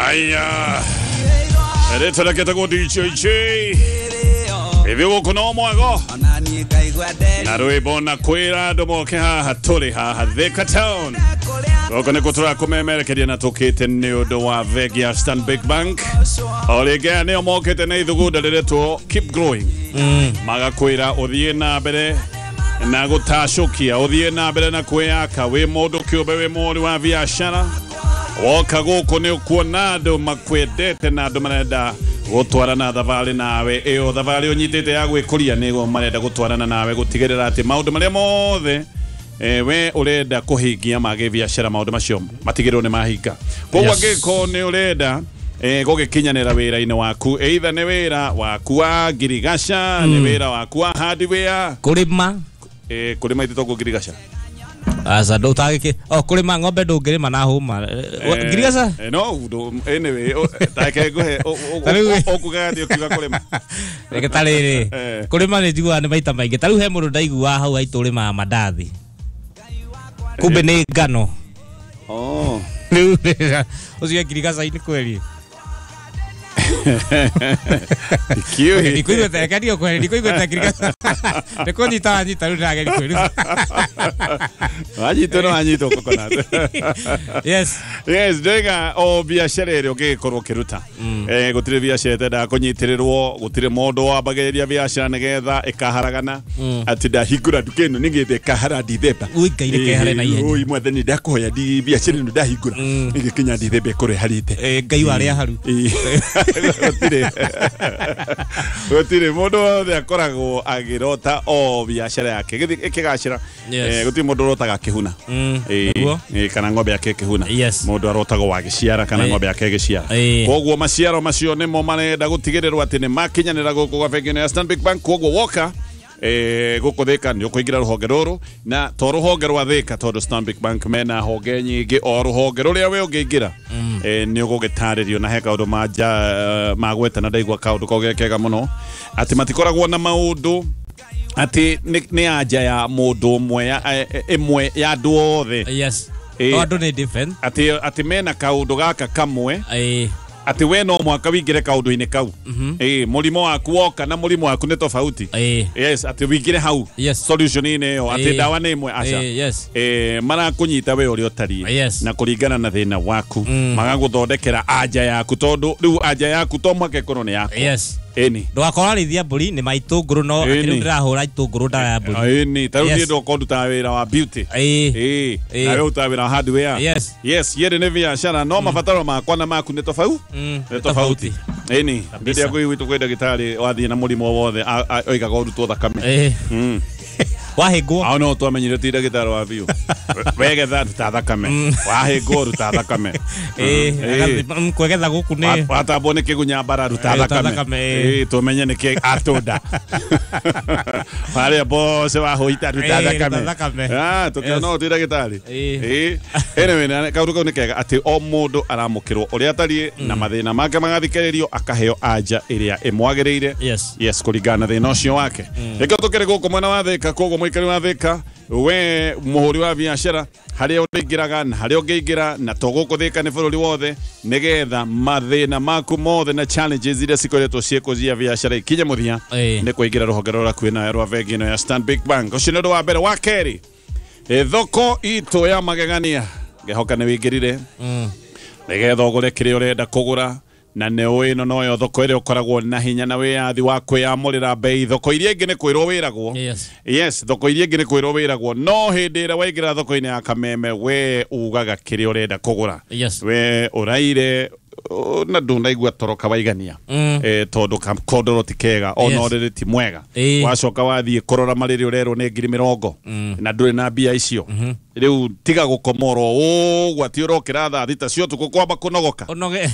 Aya, rĩtwa rĩake etagwo DJ J. Ithuĩ gũkũ no mwago na rwĩmbo na kwĩra andũ moke haha tũrĩ haha Thika Town. Gũkũ nĩkuo tũrakũmemerekeria na tũkĩte nĩ ũndũ wa bengi ya Stanbic Bank. O rĩngĩ aya nĩo mokĩte na ithugunda rĩretwo Keep Growing. Magakwĩra ũthiĩ na mbere na gũtacũkia, ũthiĩ na mbere na kwĩyaka, wĩ mũndũ kĩũmbe, wĩ mũhũri wa biacara. Woka gũkũ nĩ ũkuona andũ makwendete na andũ marenda gũtwarana thabarĩ nawe. Ĩyo thabarĩ ũnyitĩte ya gwĩkũria nĩguo marenda gũtwarana nawe gũtigĩrĩra atĩ maũndũ marĩa mothe we ũrenda kũhingia ma gĩbiacara maũndũ macio matigĩrĩrwo nĩ mahinga. Koguo angĩkorwo nĩ ũrenda gũgĩkinyanĩra wĩra-inĩ waku, either nĩ wĩra waku wa ngirigaca, nĩ wĩra waku wa hardware, kũrĩma, kũrĩma ithe toguo ngirigaca. Aca ndũtagĩkĩ o kũrĩma ng'ombe ndũngĩrĩma na hũma. Ngirigaca? No, anyway, take nguhe ũkugaga atĩ ũkiuga kũrĩma. Reke ta rĩrĩ, kũrĩma nĩ njiguaga nĩ maita maingĩ. Ta rĩu he mũndũ ndaiguaga hau haitũ ũrĩmaga mandathi. Kumbe nĩ ngano. Oh. Rĩu ũcio ngirigaca-inĩ kweri. Kiũĩ. Ndikũiguĩte, reke ndio kweri, ndikũiguĩte ngirigaca. Nĩ kũnyita wanyita rĩu ndĩrageria kwĩruta. Wanyitwo no wanyitwo coconut. Yes. Yes, ndĩga o biacara ĩrĩa ũngĩgĩkorwo ũkĩruta. Gũtirĩ biacara ĩtendaga kũnyitĩrĩrwo, gũtirĩ mũndũ wambagĩrĩria biacara nĩgetha ĩkaharagana. Atĩ ndahingũra nduka ĩno nĩgetha ĩkahara Dithemba. Ui, Ngai reke ĩhare na ihenya. Ui, mwathani ndakũhoya ndi biacara ĩno ndahingũra ĩgĩkinya Dithemba ĩkorwo ĩharĩte. Ngai wa arĩa haru. Gũtirĩ. Gũtirĩ mũndũ wothe akoragwo agĩrota o biacara yake ĩgĩthiĩ ĩkĩgacĩra. Yes. Gũtirĩ mũndũ ũrotaga akĩhuna. Nĩguo. Kana ng'ombe yake ĩkĩhuna. Yes. Mũndũ arotagwo agĩciara kana ng'ombe yake ĩgĩciara. Koguo maciaro macio nĩmo marenda gũtigĩrĩrwo atĩ nĩ makinyanĩra gũkũ gwa bengi ĩno ya Stanbic Bank. Koguo woka gũkũ Thika nĩ ũkũingĩra rũhonge rũrũ, na to rũhonge rwa Thika tondũ Stanbic Bank mena honge nyingĩ, o rũhonge rũrĩa we ũngĩingĩra nĩ ũgũgĩtarĩrio na he kaũndũ manja magweta na ndaigua kaũndũ kau ge kega mũno atĩ matikoragwo na maũndũ atĩ nĩ anja ya mũndũ ũmwe ĩmwe ya andũ othe. Yes. O andũ nĩ different. Atĩ mena kaũndũ gaka kamwe. Atĩ we no mwaka wingĩre kaũndũ-inĩ kau. Mũrimũ waku woka na mũrimũ waku nĩ tofauti. Yes, atĩ wingĩre hau. Yes. Solution-inĩ ĩyo atĩ ndawa nĩ ĩmwe aca. Yes. Marakũnyita we ũrĩa ũtariĩ. Yes. Na kũringana na thĩna waku. Magagũthondekera anja yaku tondũ rĩu anja yaku to mũhaka ĩkorwo nĩ yaku. Yes. Ĩni. Ndũgakorwo arĩithia mbũri nĩ ma itũngũrũ no Ĩni. rĩu ndĩrahũra itũngũrũ ndawa ya mbũri. Ĩni, ta rĩu Yes. niĩ ndokorwo ndutaga wĩra wa beauty. Nawe ũrutaga wĩra wa hardware. Yes. Yes, yerĩ nĩ biacara no mabataro makwa na maku nĩ tofauti. Nĩ tofauti. Ĩni, rĩrĩa ngũigua kwĩ ndagĩtarĩ wathiĩ na mũrimũ o wothe oigaga ũrutwo thakame. Wahĩngwo. Hau no twamenyire ti ndagĩtarĩ wa biũ. Wegetha ruta thakame. Wahĩngwo ruta thakame. Kwegetha gũkũ nĩ Watambwo nĩ kĩgunya mbara ruta Ruta thakame. thakame, Tũmenye nĩkĩ atũnda. Harĩa bose wahũita ruta Ruta thakame. thakame. Tũkĩona no ti ndagĩtarĩ. Ĩĩ. Anyway, na kaũndũ kau nĩ kega atĩ o mũndũ aramũkĩrwo ũrĩa atariĩ na mathĩna make magathikĩrĩrio akaheo anja ĩrĩa ĩmwagĩrĩire. Yes. Yes, kũringana na thĩna ũcio wake. Nĩkĩo tũkĩrĩ gũkũ mwena wa Thika, koguo mũikari wa Thika, we mũhũri wa biacara harĩa ũrĩingĩraga na harĩa ũngĩingĩra na to gũkũ Thika nĩ bũrũri wothe, nĩgetha mathĩna maku mothe na challenges iria cikoretwo ciĩkũ cia biacara ikinye mũthia nĩ kũingĩra rũhonge rũrĩa rũkuhĩ nawe rwa bengi ĩno ya Stanbic Bank. Ũcio nĩ ũndũ wa mbere. Wa kerĩ, thoko itũ ya magegania ngehoka nĩ wĩingĩrire nĩgetha ũgũre kĩrĩa ũrenda kũgũra, na nĩ ũĩ ĩno noyo thoko ĩrĩa ũkoragwo na hinya na wĩyathi wa kwĩyamũrĩra bei. Thoko iria ingĩ nĩ kwĩrwo wĩragwo. Yes. Yes, thoko iria ingĩ nĩ kwĩrwo wĩragwo, no hĩndĩ ĩrĩa waingĩra thoko-inĩ ya Kameme we ugaga kĩrĩa ũrenda kũgũra. Yes. We ũraire na ndũnaigua toro kawaigania. Tondũ kondoro ti kega ona Yes. ũrĩrĩ ti mwega. Wacoka wathiĩ kũrora marĩrĩ ũrerwo nĩ ngiri mĩrongo na ndũrĩ na mbia icio. Rĩu tiga gũkomorwo ũguo atĩ ũrokĩra thaa thita cia ũtukũ kwamba kũnogoka. Ũnoge.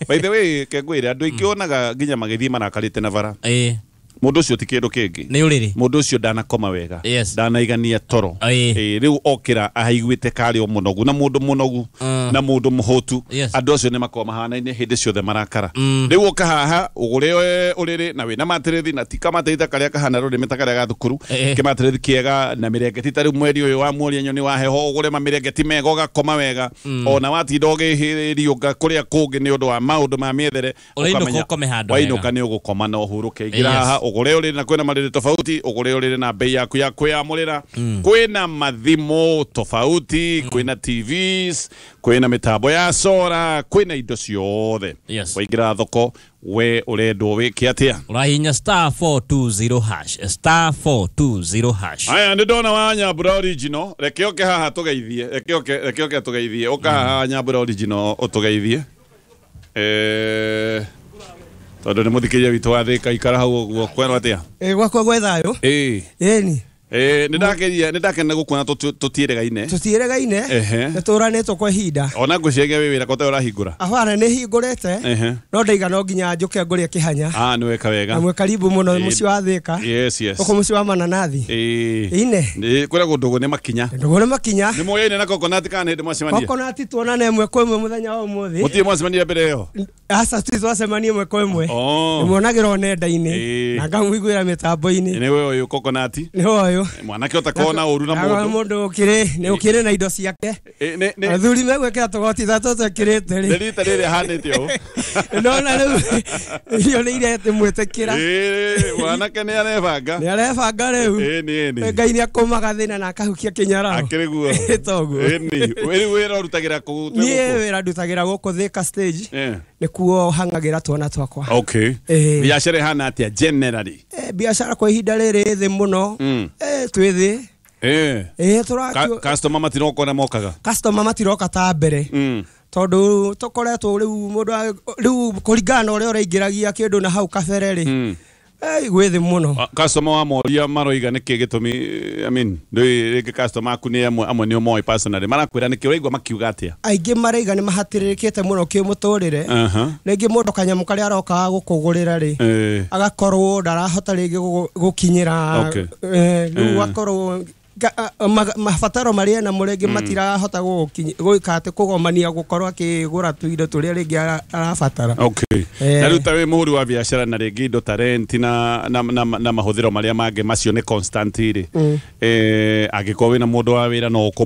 By the way, ke ngwĩre andũ aingĩ onaga nginya magĩthiĩ marakarĩte na bara. Mundu ucio ti kindu kingi. Ni uriri. Mundu ucio ndanakoma wega. Yes. Ndanaigania toro. Riu okira ahaiguite kari o munogu na mundu munogu na mundu muhutu. Yes. Andu acio ni makoragwo mahanaine hindi ciothe marakara. Riu uka haha ugure uriri na wina matirithi na tika matirithi karia kahana rurimi ta karia ga thukuru kimatirithi kiega na mirengeti ta riu mweri uyu wa muoria nyoni wa heho ugure mamirengeti mega ugakoma wega ona watinda ugihiriunga kuria kungi ni undu wa maundu ma miethere wainuka ni ugukoma na uhuruke. Ingira haha ugure uriri na kwina mariri tofauti, ugure uriri na bei yaku ya kwiyamurira, kwina mathimo tofauti, kwina TVs, kwina mitambo ya sora, kwina indo ciothe. Waingira thoko we urendwo wike atia? Urahinya star 420 hash, star 420 hash. Aya ndi ndona wa Nyambura original, reke oke haha tugeithie, reke oke tugeithie, oka haha Nyambura original utugeithie. Tondu ni muthikiria witu wa Thika ikara hau uguo kwerwo atia? Gwakwa gwe thayo. Ĩni. Nindakena gukuona tutieregaine. Tutieregaine. Nituranitwo kwa ihinda. Ona ngwiciria wi wira ko urahingura. Abana ni hingurite. No ndaiga no nginya njuke ngurie kihanya. Ah, ni weka wega. Na mwe karibu muno muci wa Thika. Yes, yes. Uko muci wa mananathi. Ine. Ni kwira ndugu ni makinya. Ndugu ni makinya. Ni moyaine na coconut kana hindi mwacemania? Coconut tuonane ĩmwe kwa ĩmwe muthenya wa umuthi. Mutie mwacemania mbere iyo? Aca twacemania ĩmwe kwa ĩmwe. Nimuonagĩra nenda-inĩ na ngamũiguĩra mĩtambo-inĩ. Ni we uyu coconut? Ni uyu. Mwanake utakona uru na mundu. Mundu ukiri ni ukiri na indo ciake. Athuri megwikira tugoti tatu twikirite ri. Rita riri hanite u. Ndona riu irio ni irete mwitikira. Mwanake ni arebanga. Ni arebanga riu. Ni. Ngai ni akumaga thina na akahukia kinyararo. Akiri guo. Toguo. Ni. Wira urutagira ku? Ni wira ndutagira guku Thika stage. Nikuo hangagira twana twakwa. Okay. Biashara ihana atia generally? Biashara kwa ihinda riri thi muno. Twi thi. Customer matiroka na mokaga. Customer matiroka ta mbere. Tondu tukoretwo riu mundu riu kuringana na uria uraingiragia kindu na hau kabere ri. Gwĩ thĩ mũno. Customer wa moria maroiga nĩkĩ gĩtũmi, I mean, rĩngĩ customer aku nĩ amwe nĩ ũmoĩ personally, marakwĩra nĩkĩ ũraigua makiuga atĩa? Aingĩ maraiga nĩ mahatĩrĩrĩkĩte mũno kĩmũtũrĩre. Rĩngĩ mũndũ kanyamũ karĩa arokaga gũkũgũrĩra rĩ, agakorwo ndarahota rĩngĩ gũkinyĩra, rĩu akorwo mabataro marĩa namo rĩngĩ matirahota gwĩka atĩ kũgomania gũkorwo akĩgũra tũindo tũrĩa rĩngĩ arabatara. Okay. Na rĩu ta wĩ mũhũri wa biacara na rĩngĩ indo ta rent na mahũthĩro marĩa mangĩ macio nĩ constant rĩ, angĩkorwo wĩna mũndũ wa wĩra no